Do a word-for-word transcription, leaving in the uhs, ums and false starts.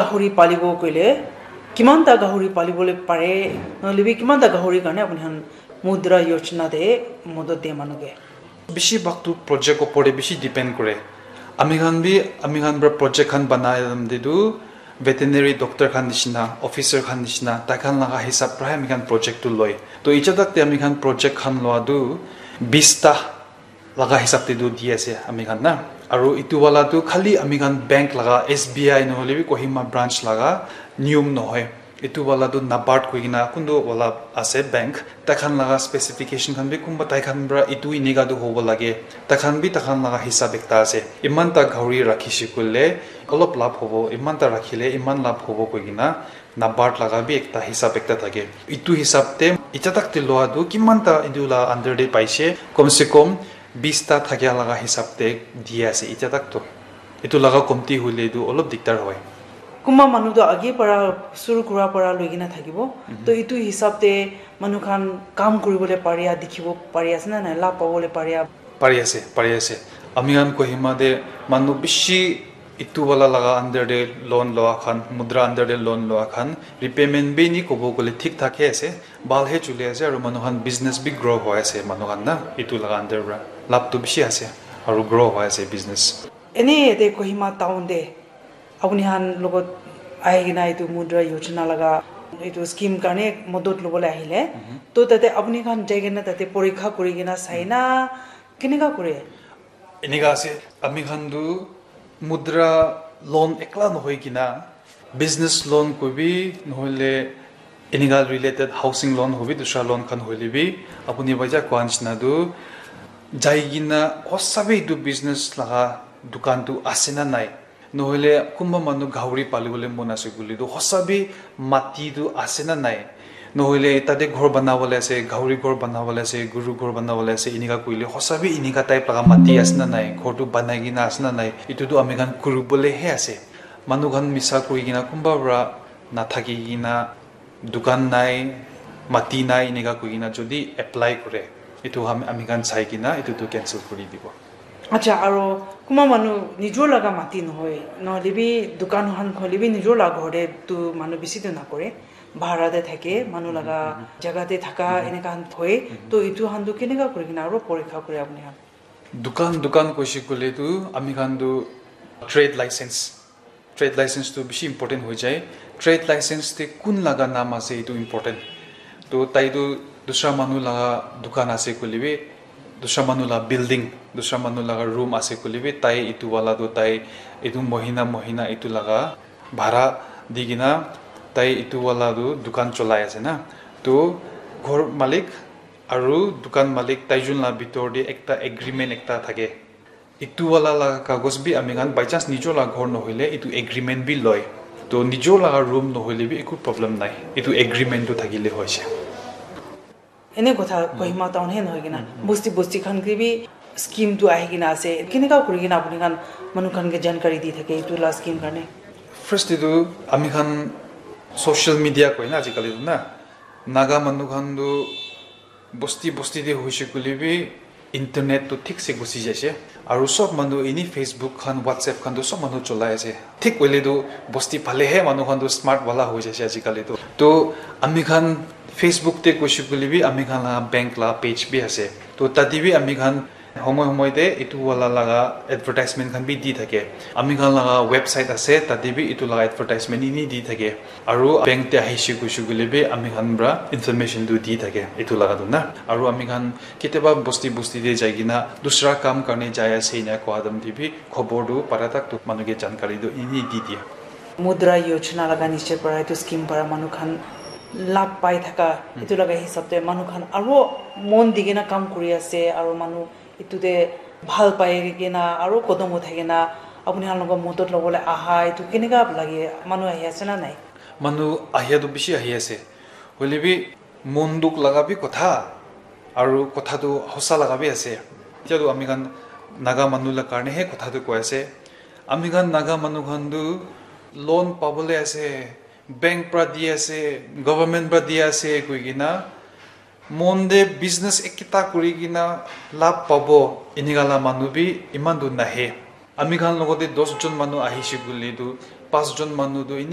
Gahori palibo koile, kiman ta gahori palibole pare, nohole bi kiman ta gahori karne apuni khan Mudra Yojana te modot diya manu ke? Bishi bhag tu project opor te bishi depend kore. Ami khan bi, ami khan pra project khan banai te tu veterinary doctor khan nishina, officer khan nishina, tai khan laga hisab pra ami khan project tu loi. To etia tak te ami khan project khan loa tu bis ta laga hisab te tu di ase ami khan na. Aru etu wala tu khali ami khan bank laga S B I nohole bi Kohima branch laga niyom nohoi. Etu wala tu NABARD koi kena kuntu wala ase bank. Tai khan laga specification khan bi kunba tai khan pra etu enika tu hobo lage. Tai khan bi tai khan laga hisab ekta ase. Iman ta gahori rakhi shey koile olop labh hobo. Iman ta rakhile iman labh hobo koi kena NABARD laga bi ekta hisab ekta thake. Etu hisab te etia tak te loa tu kiman ta etu la under te paise. Kom se kom bis ta thakia laga hisab te di ase etia tak to. Etu laga komti hoile tu olop diktar hoi. Kunba manu tu age para suru kura para loi kena thakibo. To etu hisab te manu khan kam kuribole paria dikhibo pari ase na nai, labh pabole paria? Pari ase, pari ase. Ami khan Kohima te manu bishi etu wala laga under te loan loa khan, Mudra under te loan loa khan, repayment bi ni kobo kole thik thak he ase, bhal he chuli ase, aru manu khan business bi grow hoi ase, manu khan na, etu laga under pra. Labh tu bishi ase, aru grow hoi ase business. Ene yate Kohima town te apuni khan logot ahi kena etu Mudra Yojana laga etu scheme karne modot lobole ahile, to tate apuni khan jai kena tate porikha kuri kena sai na, keneka kure? Enika ase, ami khan tu Mudra loan ekla nohoi kena, business loan koibi, nohoile enika related housing loan hoibi, dusra loan khan hoile bi, apuni baja koa nishina tu, jai kena hosa bi etu business laga dukan tu ase na nai, nohoile kunba manu gahori palibole mon ase koile tu hosa bi mati tu ase na nai, nohoile tate ghor banabole ase, gahori ghor banabole ase, guru ghor banabole ase, enika koile hosa bi enika type laga mati ase na nai, ghor tu banai kena ase na nai, etu tu ami khan kuribole he ase. Manu khan misa kuri kena kunba pra nathaki kena dukan nai, mati nai, enika koi kena jodi apply kore, etu ham-, ami khan sai kena etu tu cancel kuri dibo. Acha, aro kunba manu nijor laga mati nohoi, nohole bi dukan khan khole bi nijor laga ghor te tu manu bishi tu nakore, bhara te thake, manu laga jaga te thaka enika khan thoi, to etu khan tu keneka kuri kena aro porikha kure apuni khan? Dukan, dukan koise koile tu ami khan tu trade license, trade license tu bishi important hoi jai. Trade license te kun laga naam ase etu important. To tai tu dusra manu laga dukan ase koile bi, dusra manu laga building, dusra manu laga room ase koile bi, tai etu wala tu tai etu mohina, mohina etu laga bhara di kena tai etu wala tu dukan cholai ase na. To ghor malik aru dukan malik taijun laga bitor te ekta agreement ekta thake. Etu wala laga kagos bi ami khan by chance nijor laga ghor nohoile etu agreement bi loi. To nijor laga room nohoile bi eku problem nai. Etu agreement tu thakile hoise. Ene kotha Kohima town he nohoi kena, bosti bosti khan ke bi scheme tu ahi kena ase. Keneka kuri kena apuni khan manu khan ke jankari di thake etu la scheme karne? First te tu ami khan social media koi na ajikali tu na, Naga manu khan tu bosti bosti te hoise koile bi internet tu thik se gusi jaise. Aru sob manu ini Facebook khan, WhatsApp khan tu sob manu cholai ase. Thik hoile tu bosti phale he manu khan tu smart wala hoi jaise ajikali tu. To ami khan Facebook te koise koile bi ami khan laga bank laga page bi ase. To tate bi ami khan homoi homoi te etu wala laga advertisement khan bi di thake. Ami khan laga website ase, tate bi etu laga advertisement ini di thake. Aru bank te ahise koise koile bi ami khan pra information tu di thake etu laga tu na. Aru ami khan ketiaba bosti bosti te jai kena dusra kam karne jai ase ena koa time te bi khobor tu para tak tu manu ke jankari tu ini di diye. Mudra Yojana laga niche para etu scheme para manu khan labh pai thaka, etu laga hisab te manu khan aro mon di kena kam kuri ase, aro manu etu te bhal pai kena aro kodom uthai kena apuni khan logot modot lobole aha, etu keneka lage? Manu ahi ase na nai? Manu ahia tu bishi ahi ase, hoile bi mon dukh laga bi kotha, aru kotha tu hosa laga bi ase. Etia tu ami khan Naga manu la karne he kotha tu koi ase. Ami khan Naga manu khan tu loan pabole ase, bank pra di ase, government pra di ase koi kena, mon de business ekta kuri kena labh pabo, enika la manu bi iman tu nahe. Ami khan logote dos jon manu ahise koile tu Pas jon manu tu eni